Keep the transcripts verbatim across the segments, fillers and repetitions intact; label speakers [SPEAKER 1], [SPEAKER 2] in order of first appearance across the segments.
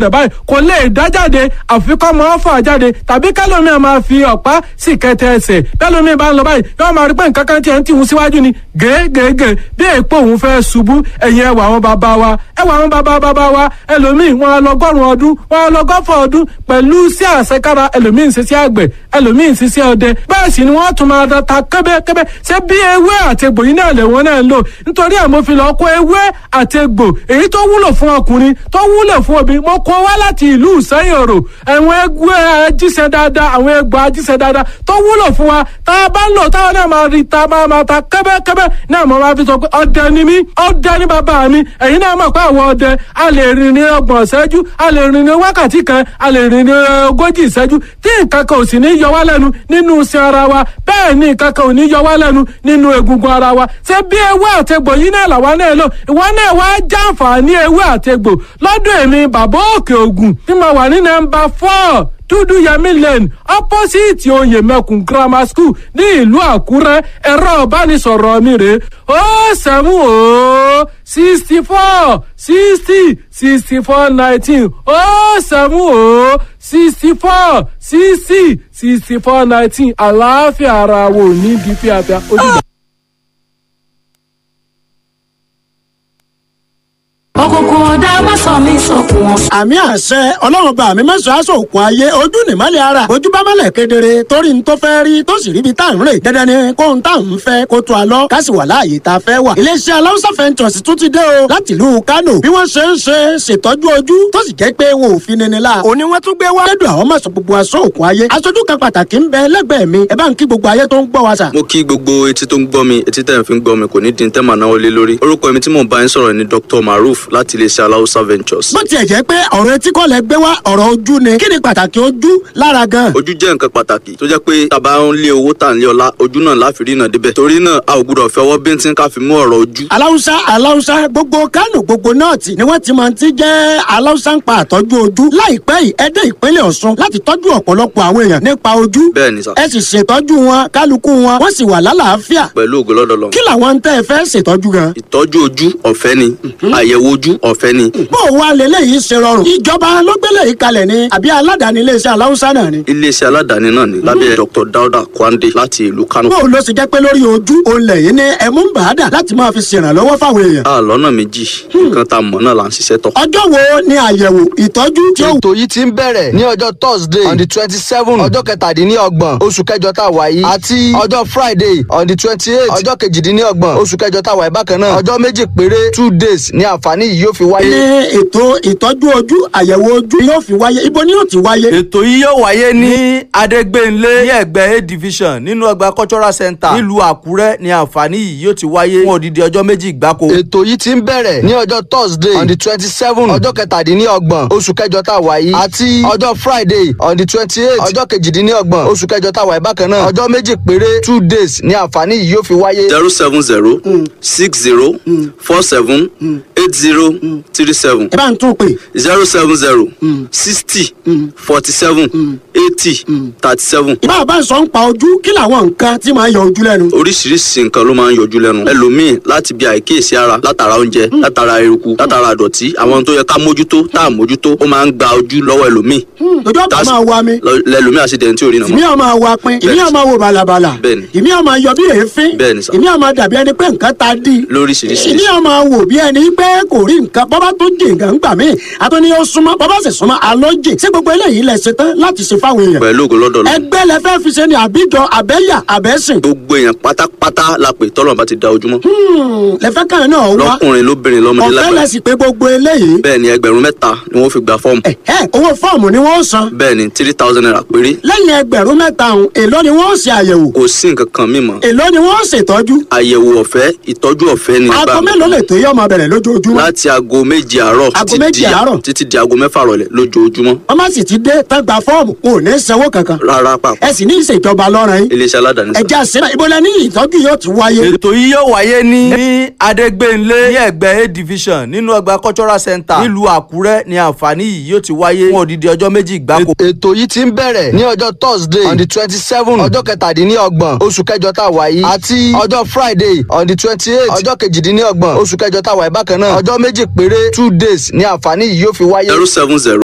[SPEAKER 1] rẹ̀ báyìí kò lè dá jáde àfikọ́ mọ́ fà jáde tàbí kẹlòmíì máa fi ọ̀pá sì kẹtẹ ẹsẹ̀ bẹ́lòmíì bá ń lọ báyìí yóò máa rí pé nǹkan kan tiẹ̀ ń tìhun síwájú ni gègègè bí èèpo òun fẹ́ ṣubú. Ẹ̀yìn ẹwà àwọn bàbá wa, ẹwà àwọn bàbá bàbá wa, ẹlòmíì wọn á lọgọ́rùn ọdún, wọn á lọgọ́fọ̀ ọdún pẹ̀lú sí àṣekára. Ẹlòmíì ń ṣiṣẹ́ àgbẹ̀, ẹlòmíì ń ṣiṣẹ́ ọdẹ, bẹ́ẹ̀ sì ni wọ́n tún máa ta kẹ́bẹ́kẹ́bẹ́. Ṣé bí ewé àti egbò yìí náà lè wọ́n náà ń lò? Nítorí ẹ̀ mo fi lọ kó ewé àti egbò èyí tó wúlò fún ọkùnrin, tó wúlò fún obìnrin, mo kó wá láti ìlú Ìsẹ́yìn Òrò. Àwọn egbò ajíṣẹ́ dáadáa, àwọn egbò ajíṣẹ́ dáadáa tó wúlò fún wa, tá a bá ń lò táwọn náà máa rí ta máa máa ta kẹ́bẹ́kẹ́bẹ́ náà. Mo máa fi sọ pé ọdẹ ni mí, ọdẹ ni bàbá mi. Ẹ̀yin náà mọ̀ pé àwọn ọdẹ a lè rìn ní ọgbọ̀n ìṣẹ́jú, a lè rìn ní wákàtí kan, a lè rìn ní ogójì ìṣẹ́jú tí nǹkan kan ò sì ní yọ wá lẹ́nu nínú iṣan ara wa. Bẹ́ẹ̀ ni nǹkan kan ò ní yọ wá lẹ́nu nínú egungun ara wa. Ṣé bí ewé àtegbò yìí náà làwa náà lò? Ìwọ náà wá jàǹfààní ewé àtegbò lọ́dọ̀ èmi Bàbá Òkè Ògùn tí mo wà ní nọ́mbà four, Dúdú Yẹmí Lane, opposite Oyè Mẹkùn Grammar School ní ìlú Àkúrẹ́. Ẹ̀rọ ìbánisọ̀rọ̀ mi rè ó seven ó sixty four sixty sixty four nineteen, ó seven ó sixty four sixty sixty four nineteen. Àlàáfíà ara wo ní bí fíafíà ó dìgbà.
[SPEAKER 2] Òkùnkùn ọ̀dà má sọ mí sókun wọn.
[SPEAKER 3] Àmì àṣẹ Ọlọ́run bá mi mẹ́sàn-án aṣọ òkun ayé. Ojú nìmọ́lẹ̀ ara, ojú bá mọ́lẹ̀ kedere torí n tó fẹ́ rí tó sì ríbi tá à ń rè. Dandan ni kóhun tá à ń fẹ́ kó tó a lọ, ká sì wà láàyè tá a fẹ́ wà. Iléeṣẹ́ Aláùsá Ventures tún ti dé o láti ìlú Kánò. Bí wọ́n ṣe ń ṣe ṣètọ́jú ojú tó sì jẹ́ pé wọn ò fi nini la, òní wọ́n tún gbé wá. Lẹ́dùn àwọn mọ̀sán gbogbo aṣọ òkun ayé. Aṣojú kan pàtàkì ń bẹ lẹ́gbẹ̀ẹ́ mi, ẹ bá ń kí gbogbo ayé tó ń gbọ́ wa sà.
[SPEAKER 4] Mo kí gbogbo etí tó ń gbọ́ mi. Etí tẹ̀ ń fi ń gbọ́ mi kò ní di tẹ́ màá náwó lé lórí. Orúkọ mi tí mò ń bá yín sọ̀rọ̀ ni Doctor Maruf láti iléeṣẹ́ Aláùsá Ventures.
[SPEAKER 3] Bó tiẹ̀ jẹ́ pé ọ̀rọ̀ etí kọ́ lẹ gbé wá, ọ̀rọ̀ ojú ni, kí ni pàtàkì ojú lára gan?
[SPEAKER 4] Ojú jẹ́ nǹkan pàtàkì tó jẹ́ pé tá a bá ń lé owó, tà ń lé ọlá, ojú náà láfi rí náà débẹ̀. Torí náà, a ò gbúdọ̀ fi ọwọ́ bíntín ká fi mú ọ̀rọ̀ ojú.
[SPEAKER 3] Aláùsá, Aláùsá, gbogbo Kánò, gbogbo nọ́ọ̀tì ni wọ́n ti máa ti jẹ́ Aláùsá ń pa àtọ́jú ojú. Láìpẹ́ yìí, ẹ dé ìpínlẹ̀ Ọ̀ṣun láti tọ́jú ọ̀pọ̀lọpọ̀ àwọn èèyàn nípa ojú.
[SPEAKER 4] Bẹ́ẹ̀ ni sà.
[SPEAKER 3] Ẹ sì ṣètọ́jú wọn, kálukú wọn wọ́n sì wà lálàáfíà.
[SPEAKER 4] Pẹ̀lú ògo lọ́dọ̀ lọ.
[SPEAKER 3] Kí làwọn ń tẹ́ ẹ fẹ́ ṣètọ́jú gan?
[SPEAKER 4] Ìtọ́jú ojú ọ̀fẹ́ ni, àyẹ̀wò ojú ọ̀fẹ́ ni.
[SPEAKER 3] Bó o wá leléyìí ṣe rọrùn? Ìjọba ló gbélé yìí kalẹ̀ ni àbí aládàáni iléeṣẹ́ Aláùsá náà ni?
[SPEAKER 4] Iléeṣẹ́ aládàáni náà ni lábẹ́ Doctor Dauda Kwande láti ìlú Kano.
[SPEAKER 3] Bó o ló ṣe jẹ́ pé lórí ojú olè yìí ní ẹ̀mú ń bàá dà láti máa fi ṣèrànlọ́wọ́ fáwọn èèyàn?
[SPEAKER 4] A lọ́nà méjì, nǹkan tá a mọ̀ náà là ń ṣiṣẹ́ tọ̀.
[SPEAKER 3] Ọjọ́ wo ni àyẹ̀wò ìtọ́jú tí ó
[SPEAKER 5] Ètò yìí ti ń bẹ̀rẹ̀ ní ọjọ́ Thursday on the twenty seven, ọjọ́ kẹtàdínlọ́gbọ̀n oṣù kẹjọ tá a wà yìí, àti ọjọ́ Friday on the twenty eight, ọjọ́ kejìdínlọ́gbọ̀n oṣù kẹjọ tá a wà yìí bákan náà. Ọjọ́ méjì péré, two days, ní àǹfààní yìí yóò fi wáyé.
[SPEAKER 3] Ní ètò ìtọ́jú ojú, àyẹ̀wò ojú yóò fi wáyé, ibo ni yóò ti wáyé?
[SPEAKER 6] Ètò yìí yóò wáyé ní Adégbénlé, ní ẹ̀gbẹ́ A Division, nínú ọgbà Cultural Center nílùú Àkúrẹ́ ní àǹfààní yìí yóò ti wáyé fún odidi ọjọ́ méjì gbáko.
[SPEAKER 5] Ètò yìí ti ń bẹ̀rẹ̀ ní ọjọ́ Thursday on the twenty seven, ọjọ́ kẹtàdínlọ́gbọ̀n oṣù kẹjọ tá a wà yìí, àti ọjọ́ Friday on the twenty eight, ọjọ́ kejìdínlọ́gbọ̀n oṣù kẹjọ tá a wà yìí bákan náà. Ọjọ́ méjì péré, two days, ní àǹfààní yìí yóò fi wáyé.
[SPEAKER 4] zero seven zero six zero four seven eight zero three seven.
[SPEAKER 3] Ẹ bá ń tún pè.
[SPEAKER 4] zero seven zero sixty forty seven eighty thirty seven.
[SPEAKER 3] Ìbá bá ń sọ ń pa ojú, kí làwọn nǹkan tí máa ń yọ ojú lẹ́nu?
[SPEAKER 4] Oríṣiríṣi nǹkan ló máa ń yọjú lẹ́nu. Ẹlòmíì, láti bí àìkíyèsí ara, látara oúnjẹ, látara eruku, látara àdọ̀tí, àwọn tó yẹ ká mójútó tá à mójútó, ó máa ń gba ojú lọ́wọ́ ẹlòmíì.
[SPEAKER 3] Ojú ọ̀pá
[SPEAKER 4] That's-
[SPEAKER 3] máa wa mi.
[SPEAKER 4] Lọ- lẹlòmíì àṣìdẹ̀ntì ò rí nà
[SPEAKER 3] Ìmí
[SPEAKER 4] mọ́.
[SPEAKER 3] ọ̀ máa wa pin, ìmí ọ̀ máa wo bàlàbàlà.
[SPEAKER 4] Bẹ́ẹ̀ni.
[SPEAKER 3] Ìmí ọ̀ máa yọ bí èéfín.
[SPEAKER 4] Bẹ́ẹ̀ni sà.
[SPEAKER 3] Ìmí ọ̀ máa dàbí ẹni pé nǹkan ta dí.
[SPEAKER 4] Lóríṣiríṣi.
[SPEAKER 3] Ìmí ọ̀ máa wò bí ẹni pé kò rí nǹkan. Bọ́bá tó jì nǹkan ń gbà mí, àtúní ó súnmọ́, bọ́bá sì súnmọ́ alọ́ jì. Ṣé gbogbo eléyìí lẹ ṣe tán láti ṣe fáwọn èèyàn?
[SPEAKER 4] Pẹ̀lú ògo lọ́dọ̀ lọ.
[SPEAKER 3] Ẹgbẹ́ lẹ fẹ́ fi ṣe ni, àbíjọ, àbẹ́yà, àbẹ́sìn?
[SPEAKER 4] Gbogbo èèyàn pátápátá la pè tọ́lọ̀ bá ti da ojúmọ́.
[SPEAKER 3] Lẹ fẹ́ kàn náà wá.
[SPEAKER 4] Lọ́kùnrin, lóbìnrin, lọ́mọdé,
[SPEAKER 3] Ọ̀fẹ́
[SPEAKER 4] lágbàá.
[SPEAKER 3] lẹ sì pé gbogbo eléyìí?
[SPEAKER 4] Bẹ́ẹ̀ ni, ẹgbẹ̀rún mẹ́ta ni wọ́n fi gba fọ́ọ̀mù.
[SPEAKER 3] Ẹ̀hẹ́, owó fọ́ọ̀mù ni wọ́n san?
[SPEAKER 4] Bẹ́ẹ̀ ni, three thousand naira péré.
[SPEAKER 3] Lẹ́yìn ẹgbẹ̀rún mẹ́ta ọ̀hún, èló ni wọ́n ṣe àyẹ̀wò?
[SPEAKER 4] Kò sí nǹkan kan mímọ́.
[SPEAKER 3] Èló ni wọ́n ṣètọ́jú?
[SPEAKER 4] Àyẹ̀wò ọ̀fẹ́, ìtọ́jú ọ̀fẹ́ ni.
[SPEAKER 3] Aago
[SPEAKER 4] Gbà-
[SPEAKER 3] mélòó lè tó yọ ọmọ bẹ̀rẹ̀ lójoojúmọ́?
[SPEAKER 4] Láti aago méje àárọ̀
[SPEAKER 3] Aago
[SPEAKER 4] títí
[SPEAKER 3] méje
[SPEAKER 4] di-
[SPEAKER 3] àárọ̀.
[SPEAKER 4] títí di aago mẹ́fà rọ̀lẹ́ lójoojúmọ́.
[SPEAKER 3] Wọ́n má sì ti dé tán gba fọ́ọ̀mù, wọn ò ní sanwó kankan?
[SPEAKER 4] Rárá pàpà.
[SPEAKER 3] Ẹ sì ní ìṣèjọba lọ́rùn yín.
[SPEAKER 4] Iléeṣẹ́ aládàáni sà.
[SPEAKER 3] Ẹ̀jẹ̀ àṣírà, ibo lẹ ní ìtọ́jú yóò ti wáyé?
[SPEAKER 6] Ètò yìí yóò wáyé ní ní Adégbénlé, ní ẹ̀gbẹ́ A Division, nínú ọgbà Cultural Center nílùú Àkúrẹ́ ní àǹfààní yìí yóò ti wáyé fún odidi ọjọ́ méjì gbáko.
[SPEAKER 5] Ètò yìí ti ń bẹ̀rẹ̀ ní ọjọ́ Thursday on the twenty seven, ọjọ́ kẹtàdínlọ́gbọ̀n oṣù kẹjọ tá a wà yìí, àti ọjọ́ Friday on the twenty eight, ọjọ́ kejìdínlọ́gbọ̀n oṣù kẹjọ tá a wà yìí bákan náà. Ọjọ́ méjì péré, two days, ní àǹfààní yìí yóò fi wáyé.
[SPEAKER 4] zero seven zero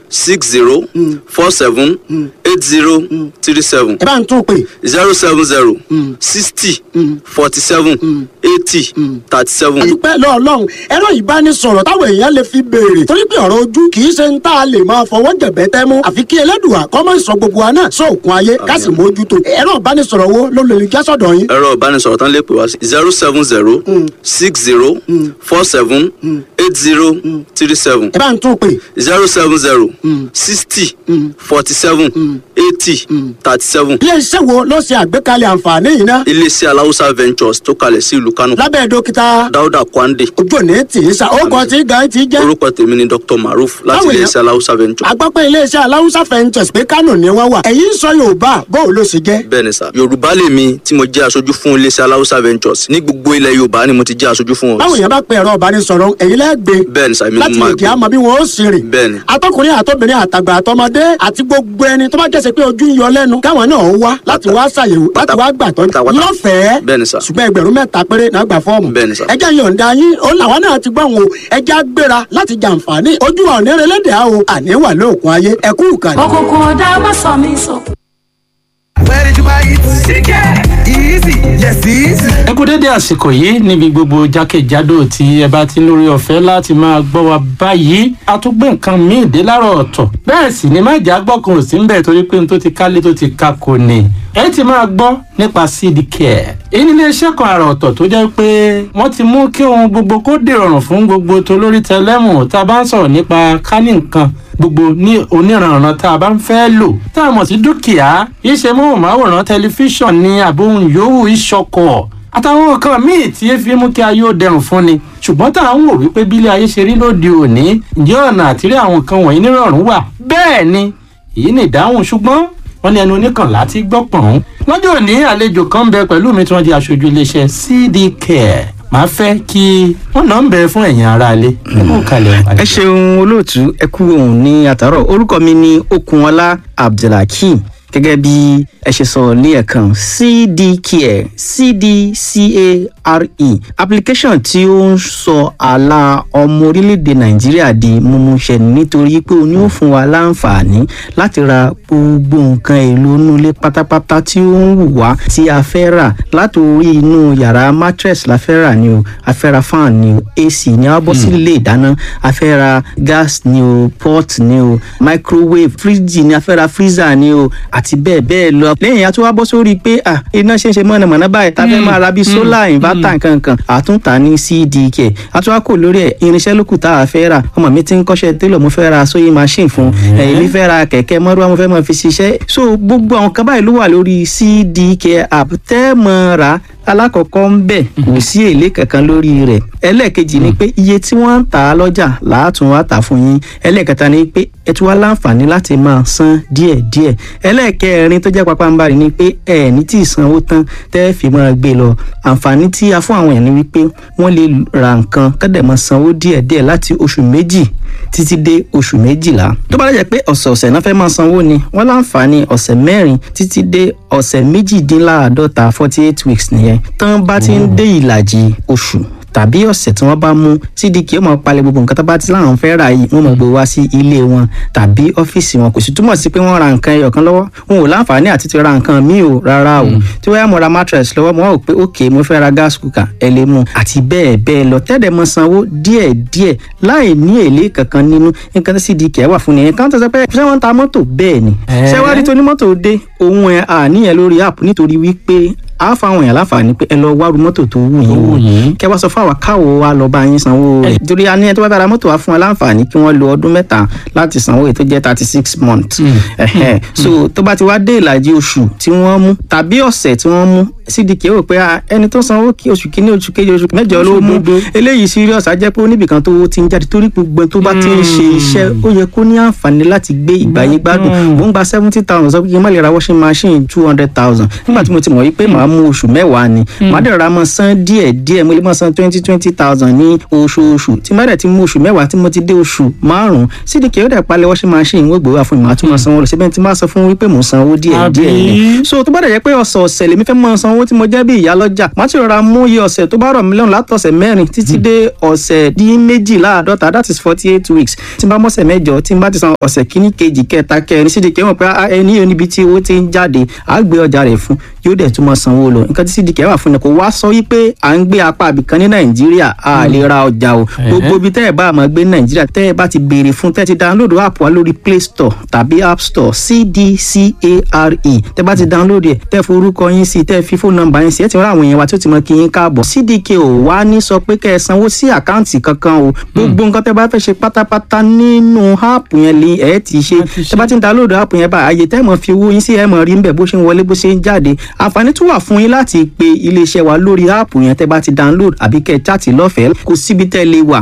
[SPEAKER 4] six zero four seven eight zero three seven
[SPEAKER 3] Ẹ bá ń tún pè.
[SPEAKER 4] zero seven zero sixty forty seven eighty thirty seven.
[SPEAKER 3] Àdúpẹ́ lọ́ọ̀lọ́run, ẹ̀rọ ìbánisọ̀rọ̀ táwọn èèyàn lè fi béèrè, torí pé ọ̀rọ̀ ojú kì í ṣe ń tá a lè máa fọwọ́ jẹ̀bẹ́ tẹ́ mú, àfi kí Ẹlẹ́dùà kó má sọ gbogbo wa náà sóòkun ayé, ká sì mójútó. Ẹ̀rọ ìbánisọ̀rọ̀ wo ló lè já sọ̀dọ̀ yín?
[SPEAKER 4] Ẹ̀rọ ìbánisọ̀rọ̀ tán lè pè wá sí zero seven zero six zero four seven eight zero three seven
[SPEAKER 3] Ẹ bá ń tún pè.
[SPEAKER 4] zero seven zero sixty forty seven eighty thirty seven.
[SPEAKER 3] Ilé iṣẹ́ wo ló ṣe àgbékalẹ̀ àǹfààní yìí ná?
[SPEAKER 4] Iléeṣẹ́ Aláwùsá Ventures tó kalẹ̀ sí ìlú Kánò.
[SPEAKER 3] Lábẹ́ dókítà
[SPEAKER 4] Dáúdà Kwande.
[SPEAKER 3] Ojú òní tì í sa ó kọ tí gan ti jẹ́.
[SPEAKER 4] Orúkọ tèmi ni Doctor Maruf láti
[SPEAKER 3] Báwo ni-
[SPEAKER 4] iléeṣẹ́ Aláwùsá Ventures.
[SPEAKER 3] Agbọ́pẹ́ iléeṣẹ́ Aláwùsá Ventures pé Kánò ni wọ́n wà, ẹ̀yin sọ Yorùbá, bó o ló ṣe jẹ́?
[SPEAKER 4] Bẹ́ẹ̀ ni sà, Yorùbá lèmi tí mo jẹ́ aṣojú fún iléeṣẹ́ Aláwùsá Ventures. Ní gbogbo ilẹ̀ Yorùbá ni mo ti jẹ́ aṣojú fún wọn.
[SPEAKER 3] Báwo yẹn bá pe ẹ̀rọ ìbánisọ̀rọ̀, ẹ̀yin lẹ́gbẹ̀ẹ́
[SPEAKER 4] Bẹ́ẹ̀ ni sà, èmi ni
[SPEAKER 3] láti
[SPEAKER 4] mo
[SPEAKER 3] lè
[SPEAKER 4] máa
[SPEAKER 3] jẹ́
[SPEAKER 4] gbé.
[SPEAKER 3] àmọ́ bí wọ́n ó sì rìn.
[SPEAKER 4] Bẹ́ẹ̀ ni.
[SPEAKER 3] Atọ́kùnrin àtọ́bìnrin àtàgbà àtọmọdé àti gbogbo ẹni tó bá jẹ́sẹ̀ pé ojú ń yọ lẹ́nu, káwọn náà ó wá láti wá ṣàyẹ̀wò, láti wá gbàtọ́
[SPEAKER 4] Pátápátá.
[SPEAKER 3] lọ́fẹ̀ẹ́.
[SPEAKER 4] Bẹ́ẹ̀ ni sà.
[SPEAKER 3] Ṣùgbọ́n ẹgbẹ̀rún mẹ́ta péré náà gbà fọ́ọ̀mù.
[SPEAKER 4] Bẹ́ẹ̀ ni sà.
[SPEAKER 3] Ẹjẹ́ yọ̀ǹda yín ó làwọn náà ti gbọ́n o, ẹjẹ́ á gbéra láti jàǹfààní ojú wa òní relédè á o, àní wà lóògùn ayé, ẹkú ìkànnì.
[SPEAKER 2] Òkùnkùn ọ̀dà má sọ mí sọkún.
[SPEAKER 7] Where did you buy it? Easy. Yes, easy.
[SPEAKER 1] Ẹ kú dédé àsìkò yìí níbi gbogbo jákèjádò tí ẹ bá ti ń lórí ọ̀fẹ́ láti máa gbọ́ wa báyìí. A tún gbé nǹkan míì dé láàárọ̀ ọ̀tọ̀, bẹ́ẹ̀ sì ni májà gbọ́kàn ò sí ń bẹ̀, torí pé n tó ti kálé tó ti ka kò ní. Ẹ ti máa gbọ́ nípa Seed Care. Èyí ní iléeṣẹ́ kan àrà ọ̀tọ̀ tó jẹ́ pé wọ́n ti mú kí ohun gbogbo kó dìrọ̀rùn fún gbogbo tolórí tẹlẹ́mù. Tá a bá ń sọ̀rọ̀ nípa kánì nǹkan gbogbo ní oníranran tá a bá ń fẹ́ lò tá a mọ̀ sí dúkìá, iṣẹ́ móhùnmáwòrán, tẹlifíṣàn ní àbóhùn yòówù, ìṣọkọ̀ àtàwọn nǹkan míì tí e fi mú kí ayé ó dẹrùn fún ni. Ṣùgbọ́n tá à ń wò wípé bílé ayé ṣe rí lóde òní, ǹjẹ́ ọ̀nà àtìrí àwọn nǹkan wọ̀nyí nírọ̀rùn wà? Bẹ́ẹ̀ ni, èyí ni ìdáhùn. Ṣùgbọ́n wọ́n ní ẹnu oníkànlá ti gbọ́ pọ̀n. Lọ́jọ́ òní, àlejò kan ń bẹ pẹ̀lú mi tí wọ́n jẹ́ aṣojú iléeṣẹ́ C D Care. Màá fẹ́ kí wọ́n náà ń bẹ fún ẹ̀yin aráalé. Ẹ kú kalẹ̀.
[SPEAKER 8] Ẹ ṣeun olóòtú, ẹ kú òun ní àtàrọ. Orúkọ mi ni Okunọlá Abdulhakeem. Gẹ́gẹ́ bí ẹ ṣe sọ ní ẹ̀kan, C D Care, C D C A R E, application tí ó ń sọ àlà ọmọ orílẹ̀-èdè Nàìjíríà di mímúṣẹ, nítorí pé òun yóò fún wa láǹfààní láti ra gbogbo nǹkan èlò inú ilé pátápátá tí ó ń wù wá tí a fẹ́ rà. Látòrí inú yàrá, mattress la fẹ́ rà ni o, a fẹ́ ra fan ni o, A C ni, a bọ́ sí ilé ìdáná, a fẹ́ ra gas ni o, pot ni o, microwave, fridge ni, a fẹ́ ra freezer ni o, àti bẹ́ẹ̀ bẹ́ẹ̀ lọ. Lẹ́yìn a tún wá bọ́ sórí pé ah, iná ṣe ń ṣe mọ̀nàmọ́ná báyìí, tá a fẹ́ máa ra bíi solar inverter nkankan, àtúntà ní C D K. A tún wá kò lórí ẹ̀, irinṣẹ́ lókù tá a fẹ́ rà. Ọmọ mi ti ń kọ́ṣẹ́ télọ̀, mo fẹ́ ra sewing machine fún ẹ̀, èmi fẹ́ ra kẹ̀kẹ́ mọ́rúwá, mo fẹ́ máa fi ṣiṣẹ́. So gbogbo àwọn kan báyìí ló wà lórí C D K app tẹ́ mọ́ ra. Alákọ̀ọ́kọ́ ń bẹ̀, kò sí èlé kankan lórí rẹ̀. Ẹlẹ́ẹ̀kejì ni pé iye tí wọ́n ń tà á lọ́jà làátún wá tà fún yín. Ẹlẹ́ẹ̀kẹta ni pé ẹ tún wá láǹfààní láti máa san díẹ̀díẹ̀. Ẹlẹ́ẹ̀kẹrin tó jẹ́ pàpàǹbarì ni pé ẹ ní tí ìsanwó tán tẹ́ fi máa gbé lọ. Àǹfààní tí a fún àwọn èèyàn ni wípé wọ́n lè ra nǹkan kọ́dẹ̀ máa sanwó díẹ̀díẹ̀ láti oṣù méjì títí dé oṣù méjìlá. Tó bá dẹ̀ jẹ́ pé ọ̀sẹ̀ọ̀sẹ̀ náà fẹ́ máa sanwó ni, wọ́n láǹfààní ọ̀sẹ̀ mẹ́rin títí dé ọ̀sẹ̀ méjìdínláàádọ́ta, forty eight weeks nìyẹn. Tán bá ti ń dé ìlàjì oṣù tàbí ọ̀sẹ̀ tí wọ́n bá mú, C D K ó máa palẹ̀ gbogbo nǹkan tó bá ti láwọn fẹ́ rà yìí, wọ́n máa gbé wá sí ilé wọn tàbí ọ́fíìsì wọn. Kò sì túmọ̀ sí pé wọ́n ra nǹkan ẹyọ kan lọ́wọ́, wọn ò láǹfààní àti ti ra nǹkan míì o, rárá o. Tí wọ́n yá mo ra mattress lọ́wọ́, mo wá wò pé ok, mo fẹ́ ra gas cooker, ẹ lè mú, àti bẹ́ẹ̀ bẹ́ẹ̀ lọ, tẹ́lẹ̀ mọ sanwó díẹ̀ díẹ̀ láì ní èlé kankan nínú. Nǹkan tí C D K wà fún nìyẹn. Kan tó sọ pé ṣé wọ́n ń ta mọ́tò? Bẹ́ẹ̀ ni. Ṣé wàá rí tó ní mọ́tò dé òun ẹ̀ àníyàn lórí app, nítorí wípé a fáwọn èèyàn láǹfààní pé ẹ lọ wárú mọ́tò tó wù yín wò, kẹ wá sọ fún àwa káwo wa lọ bá yín sanwó rẹ̀, torí a ní ẹni tó bá fẹ́ ra mọ́tò wa fún wa láǹfààní kí wọ́n lo ọdún mẹ́ta láti sanwó èyí tó jẹ́ thirty six months. Ẹ̀hẹ́n. So tó bá ti wá dé ìlàjì oṣù tí wọ́n mú tàbí ọ̀sẹ̀ tí wọ́n mú, C D K rò pé ah, ẹni tó sanwó kí oṣù kínní, oṣù kejì, oṣù mẹ́jọ ló mú, eléyìí serious, á jẹ́ pé ó níbìkan tó ti ń jáde, torí gbogbo ẹni tó bá ti ń ṣe iṣẹ́, ó yẹ kó ní àǹfààní láti gbé ìgbà yín gbádùn. Mò ń gba seventy thousand, sọ pé kí n má lè ra washing machine two hundred thousand nígbà tí mo ti mọ̀ wípé màá màá mú oṣù mẹ́wàá ni. Màá dẹ̀ rọra máa san díẹ̀ díẹ̀, mo lè máa san twenty twenty thousand ní oṣooṣù. Tí má dẹ̀ ti mú oṣù mẹ́wàá tí mo ti dé oṣù márùn-ún, C D K ó dẹ̀ palẹ̀ washing machine, wọ́n gbé wá fún mi, màá tún máa sanwó lọ síbẹ̀. Tí má sọ fún wípé mò ń sanwó díẹ̀ díẹ̀ ni. So tó bá dẹ̀ jẹ́ pé ọ̀sẹ̀ọ̀sẹ̀ lèmi fẹ́ máa sanwó tí mo jẹ́ bí ìyá lọ́jà, màá ti rọra mú iye ọ̀sẹ̀ tó bá rọ̀ mí lọ́rùn látọ̀sẹ̀ mẹ́rin títí dé ọ̀sẹ̀ dín méjìláàdọ́ta, that is forty eight weeks. Tí n bá mọ̀sẹ̀ mẹ́jọ, tí n bá ti san ọ̀sẹ̀ kíní, kejì, kẹta, kẹrin, C D K mọ̀ pé ẹni yóò níbi tí owó ti ń jáde, á gbé ọjà rẹ̀ fún, yóò dẹ̀ tún máa sanwó lọ. Nǹkan tí C D K wà fún ni kò wá sọ wípé à ń gbé apá àbìkan ní Nàìjíríà a lè ra ọjà o. Gbogbo ibi tẹ́ ẹ bá máa gbé ní Nàìjíríà, tẹ́ ẹ bá ti béèrè fún, tẹ́ ẹ ti download app wa lórí Play Store tàbí App Store, C D C A R E, tẹ́ bá ti download ẹ̀, tẹ́ forúkọ yín sí, tẹ́ fi fóònù nọ́mbà yín sí, ẹ ti rán àwọn èèyàn wa tí ó ti mọ kí yín káàbọ̀. C D K ò wá ní sọ pé kẹ́ ẹ sanwó sí àkáǹtì kankan o. Gbogbo nǹkan tẹ́ bá fẹ́ ṣe pátápátá nínú app yẹn lè ẹ ti ṣe. Tẹ́ bá ti ń download app yẹn báyìí, àyè tẹ́ mọ̀ fi owó yín sí, ẹ mọ̀ rí ń bẹ̀ bó ṣe ń wọlé, bó ṣe ń jáde. Àǹfààní tún wà fún yín láti pe iléeṣẹ́ wa lórí app yẹn tẹ́ bá ti download, àbí kẹ́ ẹ chat lọ́fẹ̀ẹ́. Kò síbi tẹ́ lè wà.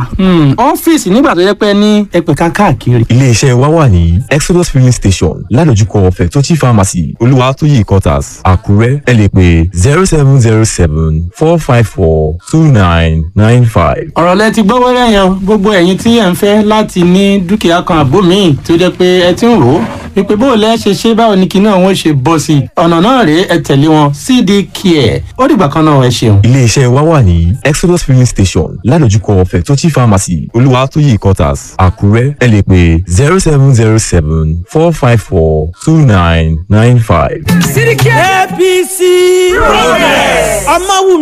[SPEAKER 1] Ọ́fíìsì nígbà tó yẹ pé ní ẹgbẹ̀ka káàkiri.
[SPEAKER 9] Iléeṣẹ́ wa wà ní Exodus Filling Station, ládojúkọ Fẹ̀tọ́chì Pharmacy, Olúwatóyè Quarters, Àkúrẹ́. Ẹ lè pè zero seven zero seven four five four two nine nine five.
[SPEAKER 1] Ọ̀rọ̀ lẹ ti gbọ́ wẹ́rẹ́ yẹn. Gbogbo ẹ̀yin tí ẹ̀ ń fẹ́ láti ní dúkìá kan àbó míì tó jẹ́ pé ẹ ti ń rò ó wípé bó o lẹ́ ṣe ṣe, báwo ni kinní ọ̀hún ṣe bọ́ sí i, ọ̀nà náà rèé, ẹ tẹ̀lé wọn, C D Care. Ó dìgbà kan náà, ẹ ṣeun.
[SPEAKER 9] Iléeṣẹ́ wa wà ní Exodus Filling Station, ládojúkọ Fẹ̀tọ́chì Pharmacy, Olúwatóyè Quarters, Àkúrẹ́. Ẹ lè pè zero seven zero seven four five four two nine nine five.
[SPEAKER 7] C D K A P C Progress.
[SPEAKER 10] Ọmọwùmí.